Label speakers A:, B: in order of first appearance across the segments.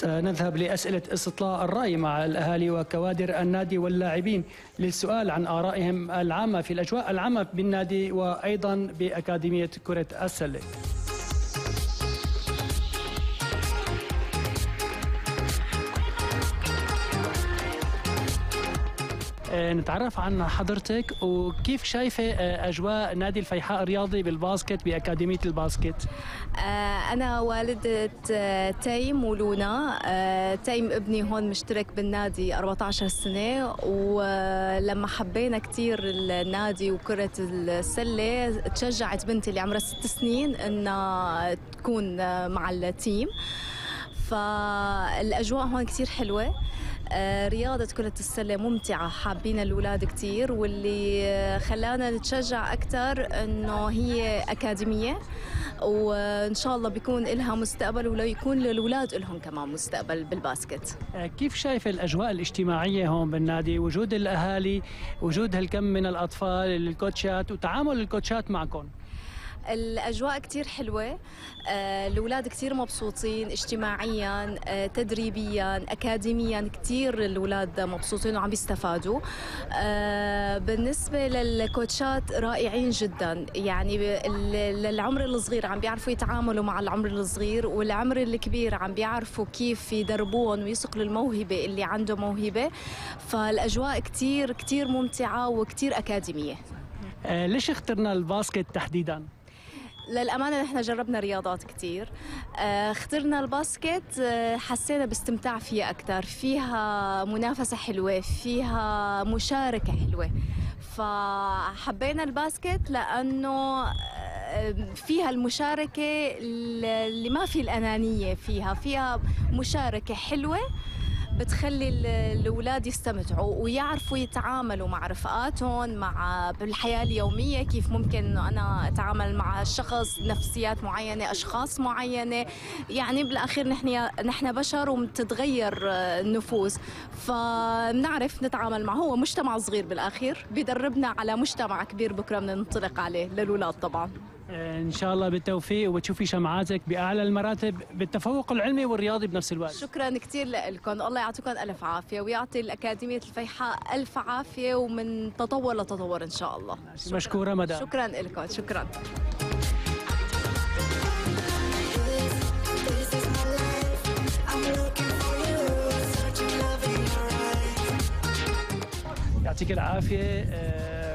A: سنذهب لأسئلة استطلاع الرأي مع الأهالي وكوادر النادي واللاعبين للسؤال عن آرائهم العامة في الأجواء العامة بالنادي وأيضا بأكاديمية كرة السلة. نتعرف عن حضرتك وكيف شايفة أجواء نادي الفيحاء الرياضي بالباسكت بأكاديمية الباسكت؟
B: أنا والدة تيم ولونا. تيم ابني هون مشترك بالنادي 14 سنة، ولما حبينا كتير النادي وكرة السلة تشجعت بنتي اللي عمرها 6 سنين إنها تكون مع التيم. فالأجواء هون كتير حلوة. رياضة كرة السلة ممتعة، حابين الأولاد كتير، واللي خلانا نتشجع أكتر إنه هي أكاديمية، وإن شاء الله بيكون إلها مستقبل ولو يكون للأولاد إلهم كمان مستقبل بالباسكت.
A: كيف شايف الأجواء الاجتماعية هون بالنادي، وجود الأهالي، وجود هالكم من الأطفال، الكوتشات وتعامل الكوتشات معكم؟
B: الأجواء كتير حلوة، الأولاد كتير مبسوطين اجتماعياً، تدريبياً، أكاديمياً، كتير الأولاد مبسوطين وعم بيستفادوا. بالنسبة للكوتشات رائعين جداً، يعني للعمر الصغير عم بيعرفوا يتعاملوا مع العمر الصغير، والعمر الكبير عم بيعرفوا كيف يدربون ويصقلوا الموهبة اللي عنده موهبة. فالأجواء كتير كتير ممتعة وكتير أكاديمية.
A: ليش اخترنا الباسكت تحديداً؟
B: للأمانة نحن جربنا رياضات كتير، اخترنا الباسكت، حسينا باستمتاع فيها أكتر، فيها منافسة حلوة، فيها مشاركة حلوة، فحبينا الباسكت لأنه فيها المشاركة اللي ما في الأنانية، فيها مشاركة حلوة بتخلي الأولاد يستمتعوا ويعرفوا يتعاملوا مع رفقاتهم، مع بالحياة اليومية، كيف ممكن إنه أنا أتعامل مع شخص، نفسيات معينة، أشخاص معينة. يعني بالأخير نحن بشر ومتتغير النفوس، فبنعرف نتعامل معه. هو مجتمع صغير بالأخير بيدربنا على مجتمع كبير بكرة بدنا ننطلق عليه للأولاد طبعاً.
A: إن شاء الله بالتوفيق وتشوفي شمعاتك بأعلى المراتب بالتفوق العلمي والرياضي بنفس الوقت.
B: شكرا كتير لكم، الله يعطيكم ألف عافية ويعطي الأكاديمية الفيحاء ألف عافية، ومن تطور لتطور إن شاء الله.
A: مشكورة مدام.
B: شكرا لكم. شكرا.
A: يعطيك العافية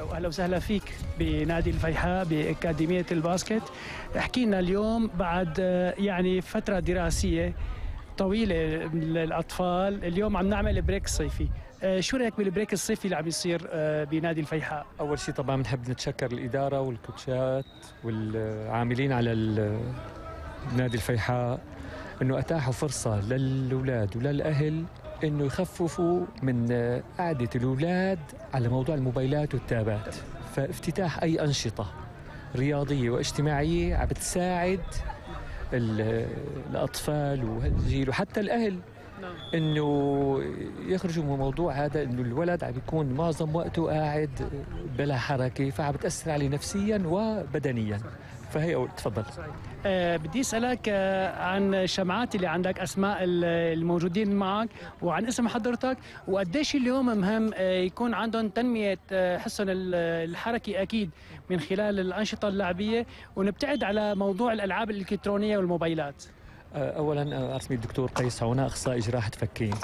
A: وأهلا وسهلا فيك بنادي الفيحاء بأكاديمية الباسكت. احكي لنا اليوم بعد يعني فترة دراسية طويلة للأطفال، اليوم عم نعمل بريك صيفي، شو رأيك بالبريك الصيفي اللي عم يصير بنادي الفيحاء؟
C: أول شيء طبعا بنحب نتشكر الإدارة والكوتشات والعاملين على نادي الفيحاء إنه أتاحوا فرصة للأولاد وللأهل إنه يخففوا من قعدة الأولاد على موضوع الموبايلات والتابات. فافتتاح أي أنشطة رياضية واجتماعية عم بتساعد الأطفال والجيل وحتى الأهل إنه يخرجوا من الموضوع هذا، إنه الولد عم بيكون معظم وقته قاعد بلا حركة، فعم بتأثر عليه نفسياً وبدنياً. فهي أول. تفضل.
A: بدي أسألك عن الشمعات اللي عندك، أسماء الموجودين معك وعن اسم حضرتك، وقديش اليوم مهم يكون عندهم تنمية حسن الحركي أكيد من خلال الأنشطة اللعبية، ونبتعد على موضوع الألعاب الإلكترونية والموبايلات.
C: أولاً اسمي الدكتور قيس عونا، أخصائي جراحة فكين.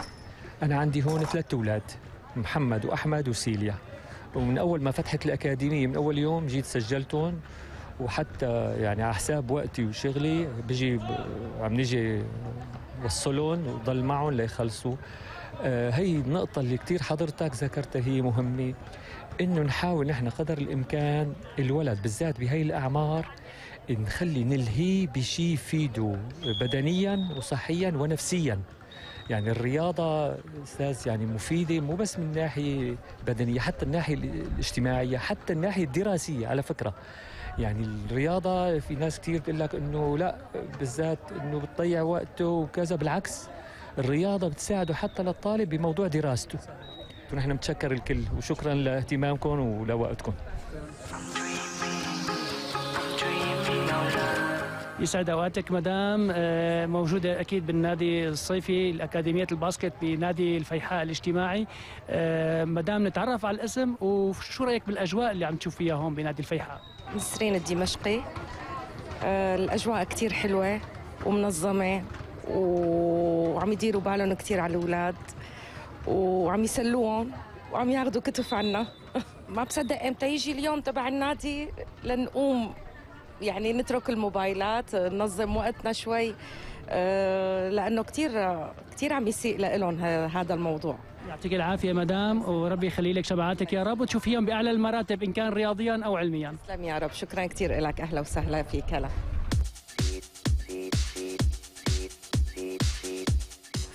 C: أنا عندي هون 3 أولاد، محمد وأحمد وسيليا، ومن أول ما فتحت الأكاديمية من أول يوم جيت سجلتهم، وحتى يعني على حساب وقتي وشغلي عم نيجي وصلهم وضل معهم ليخلصوا. هي النقطة اللي كتير حضرتك ذكرتها هي مهمة، إنه نحاول نحن قدر الإمكان الولد بالذات بهي الأعمار نخلي نلهيه بشيء يفيده بدنياً وصحياً ونفسياً. يعني الرياضة أستاذ يعني مفيدة مو بس من الناحية البدنية، حتى الناحية الاجتماعية، حتى الناحية الدراسية. على فكرة يعني الرياضة في ناس كتير بتقول لك إنه لا، بالذات إنه بتضيع وقته وكذا، بالعكس الرياضة بتساعده حتى للطالب بموضوع دراسته. ونحن متشكر الكل وشكرا لاهتمامكم ولوقتكم.
A: يسعد اوقاتك مدام. موجوده اكيد بالنادي الصيفي الاكاديميه الباسكت بنادي الفيحاء الاجتماعي. مدام نتعرف على الاسم وشو رايك بالاجواء اللي عم تشوف فيها هون بنادي الفيحاء؟
D: نسرين الدمشقي. الاجواء كتير حلوه ومنظمه وعم يديروا بالهم كتير على الاولاد وعم يسلوهم وعم ياخذوا كتف عنا. ما بصدق امتى يجي اليوم تبع النادي لنقوم يعني نترك الموبايلات ننظم وقتنا شوي، لانه كتير عم يسيء لهم هذا الموضوع.
A: يعطيك العافيه مدام وربي يخلي لك شبعاتك يا رب وتشوفيهم باعلى المراتب ان كان رياضيا او علميا.
D: تسلم يا رب، شكرا كتير لك، اهلا وسهلا فيك. هلا.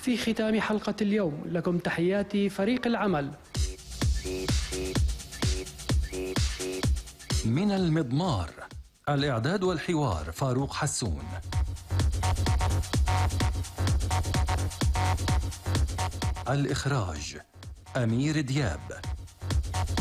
A: في ختام حلقه اليوم لكم تحياتي فريق العمل.
E: من المضمار الإعداد والحوار فاروق حسون. الإخراج أمير دياب.